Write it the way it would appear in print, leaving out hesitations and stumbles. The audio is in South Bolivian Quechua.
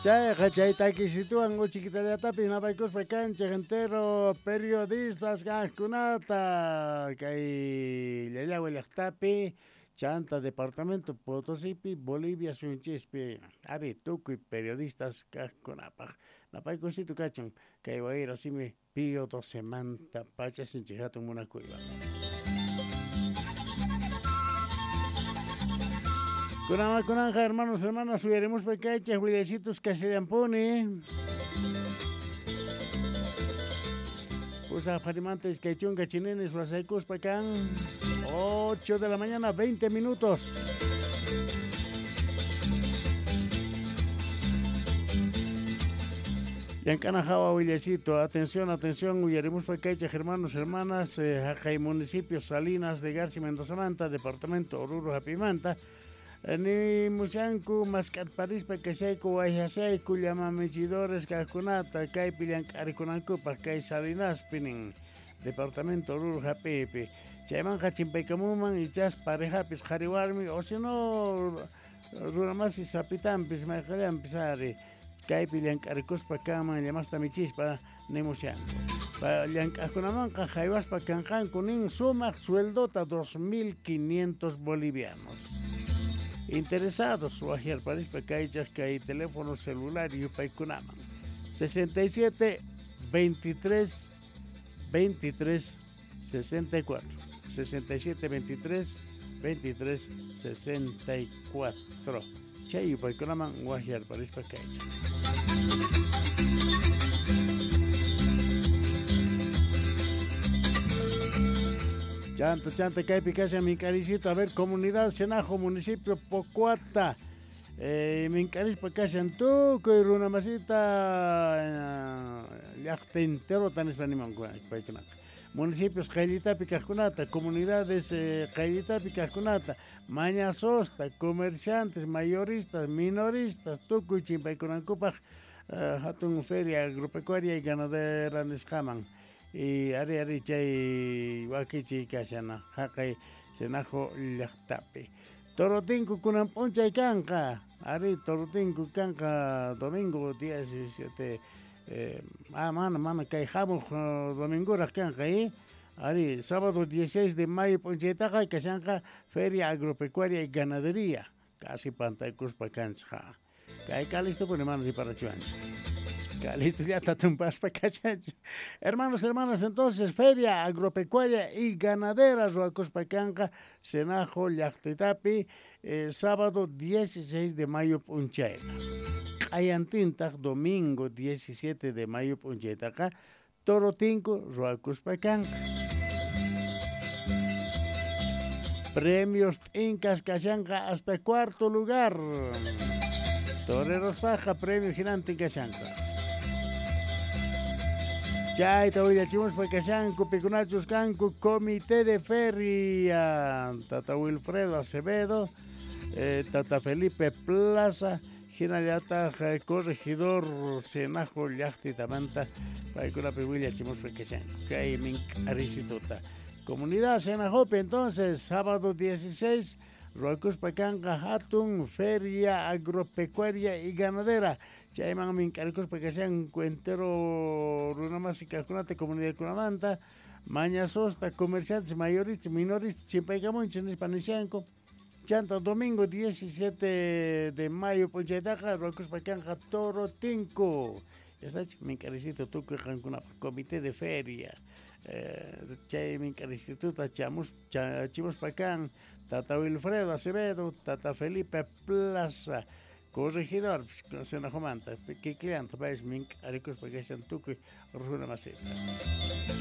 Chayqa chay takisituwan uchikitallatapis napaykuspa kanchej entero periodistas kajkunata kay Llallagua llajtapi chanta departamento Potosipi Bolivia suyunchispi ari tukuy periodistas kajkunapaj napaykusitu kachun kay wayra simi Pío 12manta pacha sinchi hatun munakuywan. Kunanqa kunanqa hermanos hermanas uyarimuspa kaychej willaysitus kashallampuni. Pusaj pharimanta 20 chininis wasaykuspa kan 8 de la mañana 20 minutos. Llank'ana hawa willaycito, atención, atención, uyarimuspa kaychej hermanos, hermanas, jaqay municipio Salinas de Garci Mendozamanta, departamento Oruro Japimanta, ni mushanku mask'atparispa kashayku wayhashayku llamamichidores kajkunata kaypi llank'arikunankupaj kay Salinaspi nin departamento Oruro Japipi. Chaymanqa chimpaykamunman ichas parejapis qhari warmi o si no runamasi sapitanpis mayqallanpis ari kaypi llank'arikuspa kanman llamasta michispa nimushanku. Llank'ajkunamanqa jaywaspa kanqanku nin sumaq sueldota 2.500 bolivianos. Interesados wajiarparispa kaychaj kay teléfono celular yupaykunaman 67 23 23 64 67 23 23 64 chay yupaykunaman wajiarparispa kaychaj. Chanta, chanta, kaypi kashan mink'arisito, a ver, comunidad Senajo, municipio Pocoata, mink'arispa kashan tukuy runamasita llaqta enterota nispa niman paykunata. Municipios qayllitapi kajkunata, comunidades qayllitapi kajkunata, mañasosta, comerciantes, mayoristas, minoristas, tukuy chimpaykunankupaj hatun feria agropecuaria y ganadera nisqaman. Y ari ari chay wakichi kashana jaqay Senajo llaqtapi. Torotinku kunan p'unchay kanqa, ari torotinku kanqa domingo 17 mana mana kay hamuq domingoraq kanqa ari sábado 16 de mayo p'unchaytaqa kashanqa feria agropecuaria y ganadería casi pantaykuspa kanchik. Kay kalistupuni mana riparachiwanchik. Listo, ya está tumpaspa kachanchik. Hermanos, hermanas, entonces, feria agropecuaria y ganadera ruwakuspa kanqa Senajo llaqtitapi sábado 16 de mayo p'unchayta. Q'ayantintaq domingo 17 de mayo p'unchaytaqa torotinku ruwakuspa kanqa. Premios t'inkasqa kashanqa hasta cuarto lugar. Toreros paja premio hinantin kashanqa. Chayta willachimuspa kashanku pikunachus kanku Comité de Feria Tata Wilfredo Acevedo, Tata Felipe Plaza, hinallataq corregidor Senajo llaqtitamanta paykunapi willachimuspa kashanku kay mink'arisituta. Comunidad Senajopi entonces sábado 16 ruwakuspa kanqa hatun feria agropecuaria y ganadera. Chayman mink'arikuspa kashanku entero runamasi kajkunata comunidadkunamanta mañasosta comerciantes mayoristas minoristas chimpaykamunchik nispa nishanku. Chanta domingo 17 de mayo p'unchaytaqa ruwakuspa kanqa torotinku. Está mink'arisito tukuy qankunapaq comité de feria chay mink'arisituta chamuspa kan Tata Wilfredo Acevedo, Tata Felipe Plaza, corregidor Senajomanta, kikillanta paypis mink'arikuspa kashan tukuy runamasita.